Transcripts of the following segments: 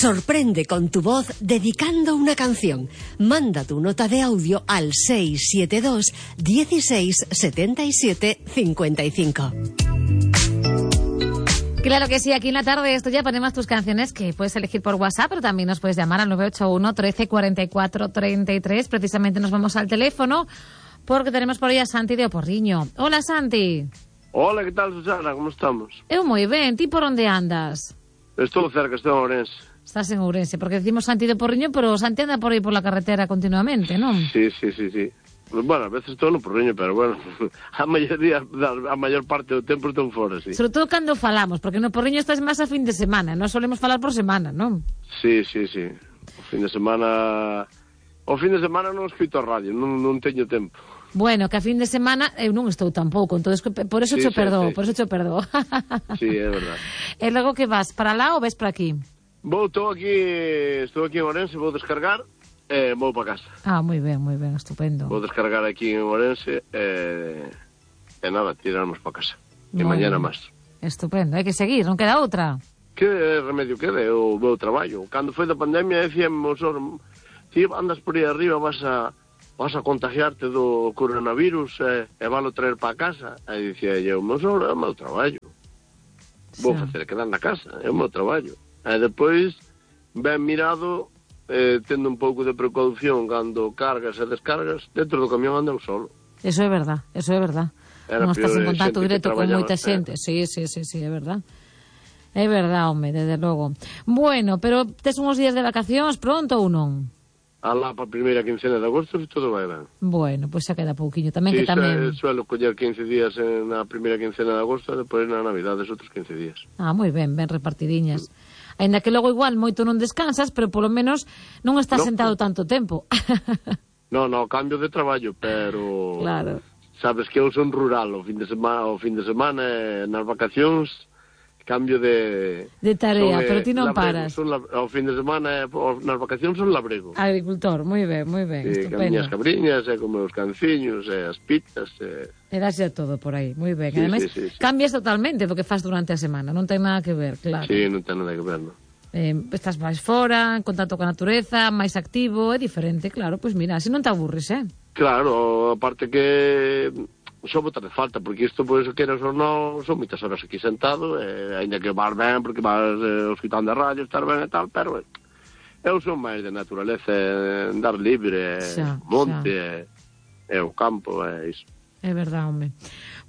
Sorprende con tu voz dedicando una canción. Manda tu nota de audio al 672 16 77 55. Claro que sí, aquí en la tarde esto ya ponemos tus canciones que puedes elegir por WhatsApp, pero también nos puedes llamar al 981 13 44 33. Precisamente nos vamos al teléfono porque tenemos por ahí a Santi de Oporriño. Hola, Santi. Hola, ¿qué tal, Susana? ¿Cómo estamos? Eu moi ben, ti por onde andas? Estou cerca, estou en Ourense. Estás en Ourense, porque decimos Santi de Porriño, pero Santi anda por aí por la carretera continuamente, non? Sí. Bueno, a veces estou no Porriño, pero bueno, a maior parte do tempo estou fora, sí. Sobre todo cando falamos, porque no Porriño estás máis a fin de semana, non solemos falar por semana, non? Sí. O fin de semana non escoito a radio, non teño tempo. Bueno, que a fin de semana eu non estou tampouco, entonces por eso cho perdoo. Sí, é verdade. E logo que vas, para lá ou ves para aquí? Estou aquí en Ourense, vou descargar e vou para casa. Ah, moi ben, estupendo. Vou descargar aquí en Ourense e nada, tirarmos para casa. E mañana máis. Estupendo, hai que seguir, non queda outra. Que remedio quede, o meu traballo. Cando foi da pandemia, decíame, ti andas por aí arriba, vas a contagiarte do coronavirus e valo traer para casa. E dicía eu, meu sogro, é o meu traballo. Vou facer quedar na casa, é o meu traballo. E depois, ben mirado, tendo un pouco de precaución cando cargas e descargas, dentro do camión anda eu solo. Eso é verdad. Non estás en contacto directo con moita xente. Sí, é verdad. É verdad, home, desde logo. Bueno, pero tes uns días de vacacións pronto ou non? Alá para a primeira quincena de agosto e todo vai ben. Bueno, pois xa queda pouquiño tamén, sí, que tamén... suelo coller 15 días na primeira quincena de agosto e depois na Navidades outros 15 días. Ah, moi ben repartidiñas. Ainda que logo igual moito non descansas, pero polo menos non estás sentado tanto tempo. No, cambio de traballo, pero... Claro. Sabes que eu son rural, o fin de semana nas vacacións cambio de tarea, pero ti non paras. Ao fin de semana, nas vacacións son labrego. Agricultor, moi ben, sí, estupendo. As cabriñas, con meus canciños, as pitas. E daslle todo por aí, moi ben. Ademais, cambias totalmente do que fas durante a semana, non ten nada que ver, claro. Sí, non ten nada que ver, non. Estás máis fora, en contacto con a natureza, máis activo, é diferente, claro, pois mira, así non te aburres, Claro, aparte que... Só botar de falta, porque isto, pois, queras ou non, son moitas horas aquí sentado, ainda que vas ben, porque vas escutando a radio, estar ben e tal, pero eu son máis de naturaleza, andar libre, monte, o campo, iso. É verdade, home.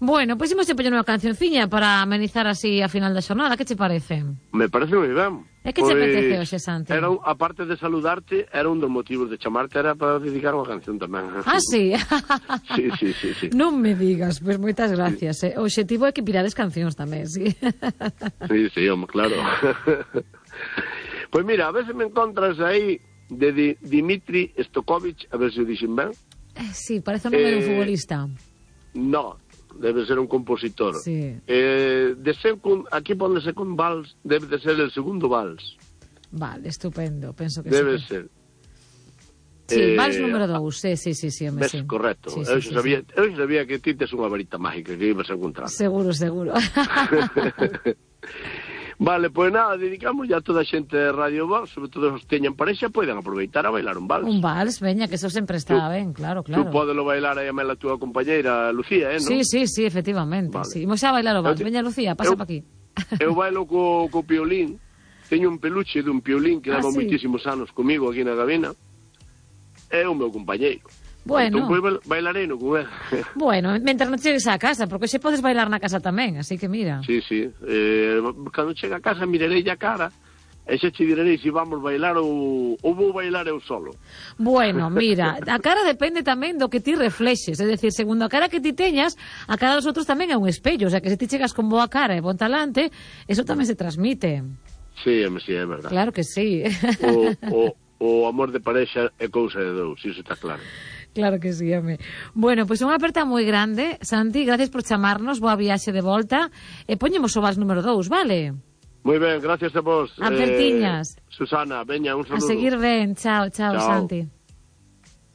Bueno, pois imos poñer unha cancionciña para amenizar así a final da xornada, que che parece? Me parece moi ben. E que che apetece hoxe, Santi? Aparte de saludarte, era un dos motivos de chamarte, era para dedicar unha canción tamén. Ah, sí? Sí. Non me digas, pois moitas gracias. O obxectivo é que pirades cancións tamén, sí. Sí, home, claro. Pois mira, a veces me encontras aí de Dmitri Stokovic, a ver se o dixen ben. Sí, parece o nome de un futbolista. No, debe ser un compositor. Sí. Aquí pone second vals, debe de ser el segundo vals. Vale, estupendo, penso que debe ser. Sí, vals número 2, sí, home, sí. Correcto. Eu sabía que ti tes unha varita mágica que ibas a encontrar. Seguro. Vale, pois nada, dedicamos ya a toda a xente de Radio Vals, sobre todo os que teñan parexa, poden aproveitar a bailar un vals. Un vals, veña, que eso sempre está ben, claro. Tú podelo bailar aí a mela túa compañeira Lucía, non? Sí, efectivamente. Vale. Sí. Imos a bailar o vals. Veña, Lucía, pasa pa aquí. Eu bailo co piolín. Teño un peluche dun piolín que leva moitísimos anos comigo aquí na cabina. É o meu compañeiro. Bueno. Entón, pois bailarei no con él. Bueno, mentras non chegues á casa, porque xe podes bailar na casa tamén, así que mira. Sí. Cando chegue a casa mirarei a cara e xa che direi se vamos bailar ou vou bailar eu solo. Bueno, mira, a cara depende tamén do que ti reflexes, é dicir, segundo a cara que ti teñas, a cara dos outros tamén é un espello, o sea, que se ti chegas con boa cara e bon talante, eso tamén se transmite. Sí, é verdad. Claro que sí. O amor de parexa é cousa de dous, iso está claro. Claro que sí, home. Bueno, pois unha aperta moi grande, Santi, gracias por chamarnos, boa viaxe de volta, e poñemos o vals número 2, vale? Moi ben, gracias a vos. Apertiñas. Susana, veña, un saludo. A seguir ben, chao, Santi.